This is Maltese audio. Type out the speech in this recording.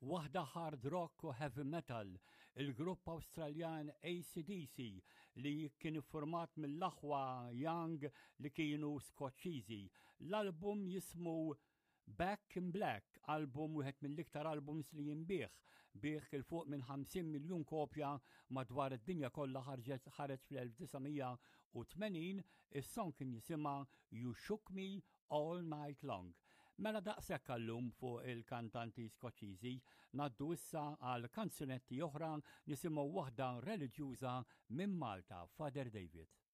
Waħda hard rock u heavy metal, il-grupp Awstraljan ACDC li kien iffurmat mill-aħwa Young li kienu Skoċċiżi. L-album jismu Back in Black, album wieħed mill-iktar albums li jinbiegħ, biegħ 'il fuq minn 50 miljun kopja madwar id-dinja kollha ħarġet ħareġ fl-1980, is-song kien jisimha You Shook Me All Night Long. Mela daqshekk għallum fuq il-kantanti Skoċċiżi, ngħaddu issa għal kanzunetti oħra nisimgħu waħda reliġjuża minn Malta, Father David.